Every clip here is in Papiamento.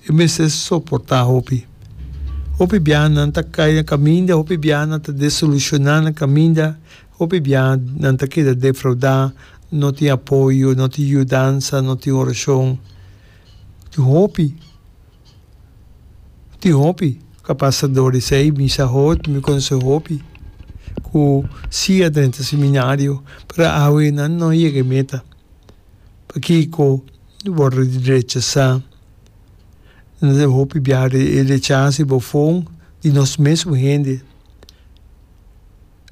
E mester soportá hopi. Hopi biaha nan ta kai na kaminda, hopi biaha nan ta desilushoná na kaminda, hopi biaha nan ta keda defraudá, no tin apoyo, no tin yudansa, no tin orashon. Tin hopi, tin hopi ku a pasa dor di esei. Mi sa hopi, mi konosé hopi ku si a drenta seminario, pero awe nan no yega e meta. Pakiko wòrdu rechasá? Nan ta hopi biaha e rechasa i bofon di nos mesun hende.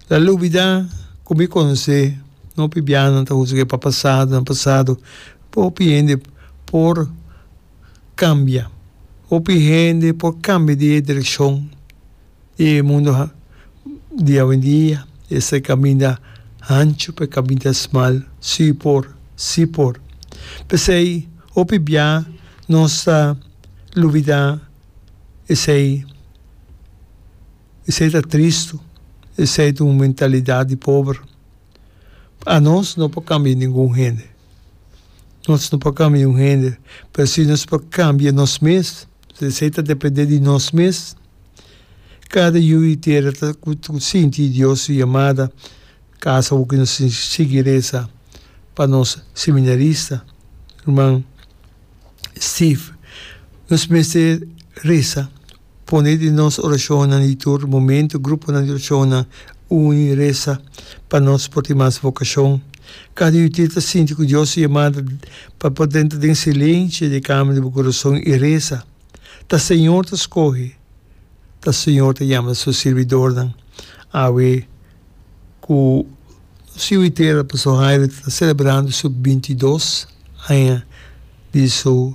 La lubidá ku mi konosé hopi biaha nan ta husg'é pa pasado, nan pasado. Hopi hende por kambia, hopi hende por kambia di e direkshon. E mundu di awendia esta e kaminda hanchu pa e kaminda smal, si por, si por. P'esei hopi bia nos ta lubidá esei, esei ta tristu, esei ta un mentalidat di pober. Anos no por kambia ningun hende, nos no por kambia un hende, pero si nos por kambia nos mes, esei ta depende di nos mes. Kada yu di tera ta ku sinti Dios su yamada kasa ku nos sigui resa pa nos seminarista ruman Steve. Nos mester resa, pone den nos orashonnan di tur momento, gruponan di orashonnan uni resa pa nos por tin mas vokashon. Kada yu di tera ta sinti ku Dios su yamada pa por drenta den silencio di e kamer di bo kurason i resa. Ta Señor ta scoge, ta Señor ta yama su sirbidornan. Awe cu nos yu itera Pastor Jairo ta celebrando su bintidos aña di su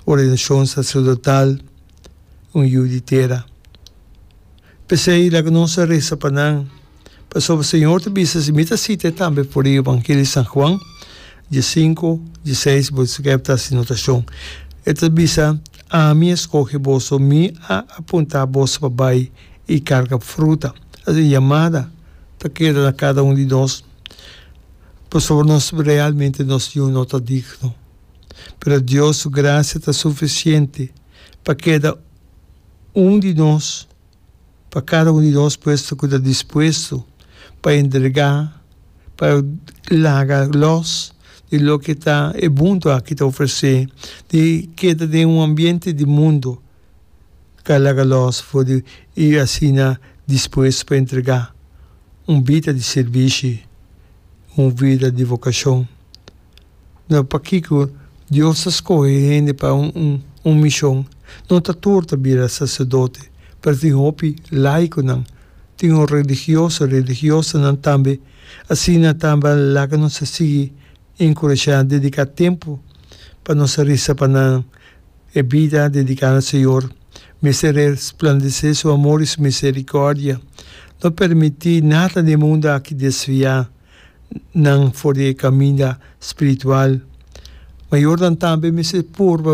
ordenacion sacerdotal, un yu di tera. P'esei laga nos a resa pa nan, pasobra Señor ta bisa, si mi ta sita e tambe for di Evangelio di San Juan, diesinku, dieseis, bo skèp ta hasi notashon. E ta bisa, Ami a skohe boso, mi a apuntá boso pa bai i karga fruta. Asina yamada ta keda na kada un di nos, pasobra nos realmente nos yu no ta digno. Pero Dios su grasia ta sufisiente pa keda Un di nos, pa kada un di nos puesto ku ta dispuesto pa entregá, pa laga lòs di loke ta e mundu aki ta ofresé, di keda den un ambiente di mundu ka laga lòs for di i asina dispuesto pa entregá un bida di sirbishi, un bida di vokashon. No, pakiko Dios ta skohe hende pa un un mishon? No ta tur ta bira saserdote, pero tin hopi laikonan, tin un religioso, religiosanan tambe. Asina tambe laga nos a sigui enkurashá, dediká tempu pa nos a resa pa nan. E bida dediká na Señor mester resplandesé Su amor i Su miserikòrdia. No permití nada den mundu aki desviá nan for di e kaminda spiritual. Mayornan tambe mester purba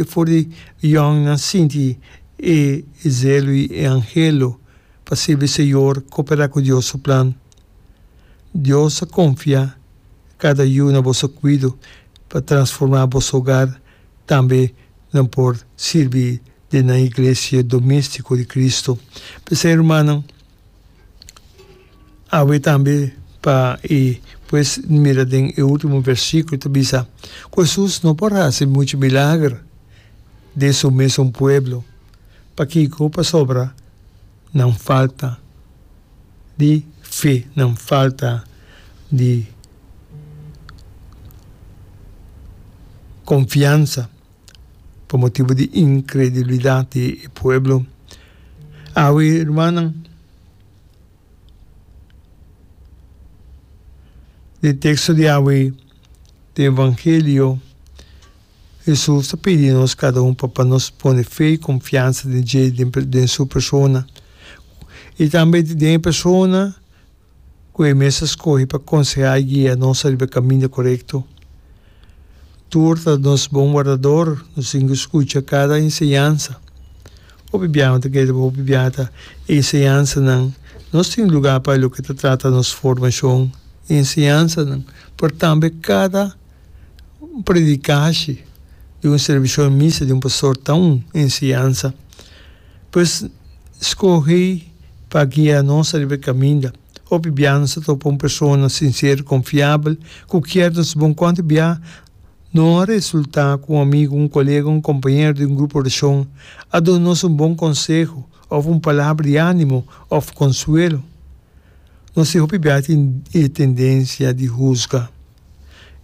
for di yòngnan sinti e zelo i e anhelo pa sirbi Señor, koperá ku Dios su plan. Dios a konfia kada yu na boso kuido pa transformá boso hogar, tambe nan por sirbi den nan iglesia doméstiko di Kristu. P'esei, rumannan. Awe tambe pa e pues mira den e ultimo versiculo ta bisa cu Jesus no por haci mucho milager den su mesun pueblo. Pakico? Pasobra nan falta di fe, nan falta di confiansa. Pa motibu di inkredulidat di e pueblo. Awe, rumannan, den teksto di awe den Evangelio, Hesus ta pidi nos kada un pa pa nos pone fe i konfiansa den dje, den su persona, i tambe den e persona ku e mes a skohe pa konsehá i guia nos riba e kaminda korekto. Tur ta nos bon wardador, nos tin ku skucha kada enseñansa. Hopi biaha ta kere hopi biaha ta e enseñansanan. Nos tin lugá pa loke ta trata nos formashon i enseñansanan, pero tambe kada predikashi. di un servisio di misa di un pastor ta un enseñansa. Pues skohe pa guia nos ariba e kaminda. Hopi bia nos ta topa un persona sinsero, konfiabel, ku kier nos bon. Kuantu bia no a resultá ku un amigu, un kolega, un kompañero di un grupo orashon a duna nos un bon konseho òf un palabra di ánimo òf konsuelo? Nos tin hopi bia tin e tendensia di husga.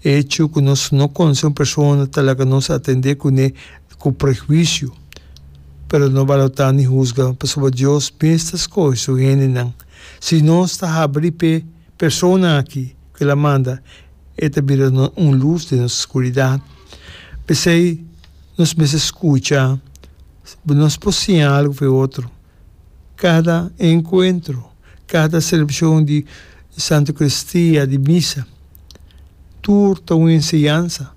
E hecho ku nos no konosé un persona ta laga nos atendé kuné ku prehuisio. Pero no balotá ni husga, pasobra Dios mes ta skohe su hendenan. Si nos ta habri p'e persona aki ku el a manda, e ta bira un lus den nos skuridat. P'esei nos mester skucha, nos por siña algu for e otro. Kada enkuentro, kada selebrashon di Santa Eukaristia, di misa, tur ta un enseñansa.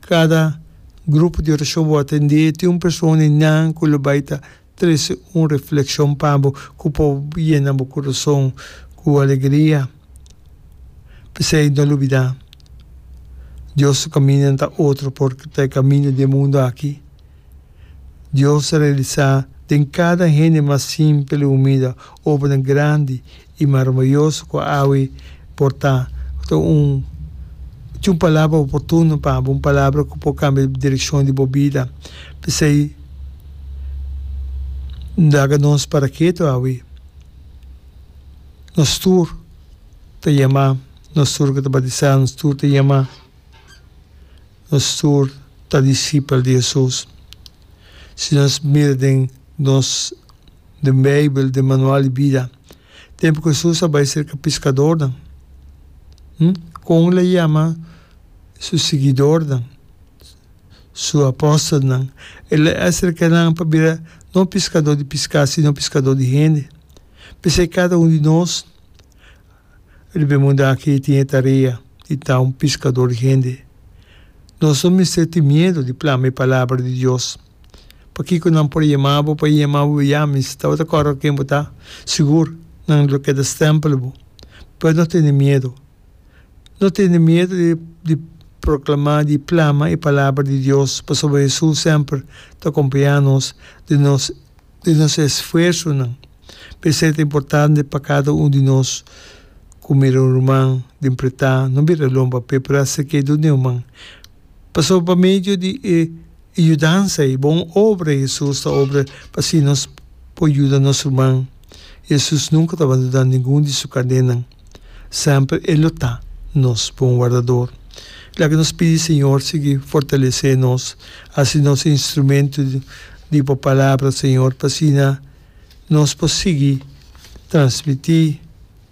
Kada grupo di orashon bo atendé tin un persona einan ku lo bai ta trese un reflekshon pa bo ku por yena bo kurason ku alegria. P'esei no lubidá, Dios su kamindanan ta otro por ta e kaminda di e mundu aki. Dios a realisá den kada hende mas simpel i humilde obranan grandi i maraviyoso ku awe por ta un tin un palabra oportuno pa bo, un palabra ku por kambia direkshon di bo bida. P'esei, laga nos para ketu awe. Nos tur ta yamá, nos tur ku ta batisá, nos tur ta yamá. Nos tur ta disipel di Hesus. Si nos mira den nos den Beibel, den manual di bida, tempu ku Hesus a bai serka piskadornan, kon el a yama su siguidornan, su apòstelnan? El a aserka nan pa bira no piskadó di piská, sino piskadó di hende. P'esei kada un di nos Riba e mundu aki tin e tarea di ta un piskador di hende. Nos no mester tin miedu di plama e palabra di Dios. Pakiko nan por yama bo pa yama bo ya mi si tabata kòrda ken bo ta? Sigur nan lo keda stèmpel bo. Pero no tene miedu. No tene miedu di di proklamá, di plama e palabra di Dios, pasobra Hesus semper ta kompañá nos den nos di nos esfuersonan. P'esei ta importante pa kada un di nos ku mira un ruman den pretá no bira lomba p'e, pero aserk'é dun'é un man. Pasobra pa medio di e yudansa ei, bon obra Hesus ta obra pa asina nos por yuda nos ruman. Hesus nunka ta bandoná ningun di su karnénan. Semper e lo ta nos bon wardador. Laga nos pidi Señor sigui fortalesé nos, hasi nos instrumento di bo palabra, Señor, pa asina nos por sigui transmití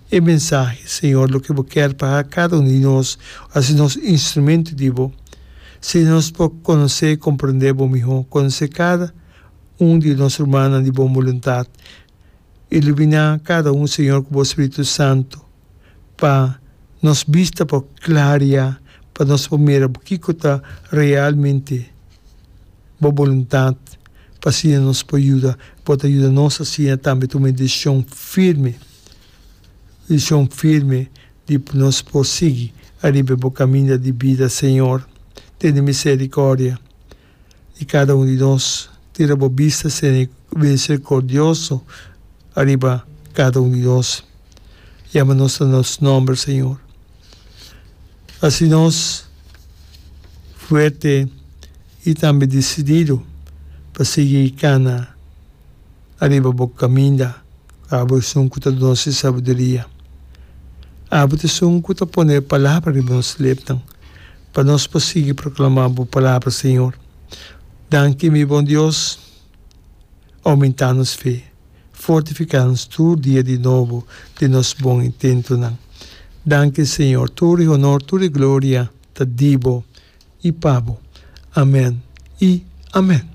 e mensahe, Señor, loke bo kier pa kada un di nos, hasi nos instrumento di bo. Si nos por konosé i komprendé bo mihó, konosé kada un di nos rumannan di bon boluntat. Iluminá kada un, Señor, ku bo Spiritu Santu, pa nos bista por klaria, pa nos por mira kiko ta realmente bo boluntat, pa asina nos por yuda, bo ta yuda nos asina tambe tuma e desishon firme, desishon firme di nos por sigui ariba bo kaminda di bida, Señor. Tene miserikòrdia. Di kada un di nos. Tira bo bista misericordioso ariba kada un di nos. Yama nos na nos nomber, Señor. Hasi nos fuerte i tambe desidido pa sigui kana ariba bo kaminda. Abo esun ku ta duna nos e sabiduria. Abo ta esun ku ta pone e palabra riba nos lepnan, pa nos por sigui proklamá bo palabra, Señor. Danki, mi bon Dios. Oumentá nos fe, fortifiká nos tur dia di nobo den nos bon intentonan. Danki, Señor. Tur e honor, tur e gloria ta di bo i pa bo. Amèn i amèn.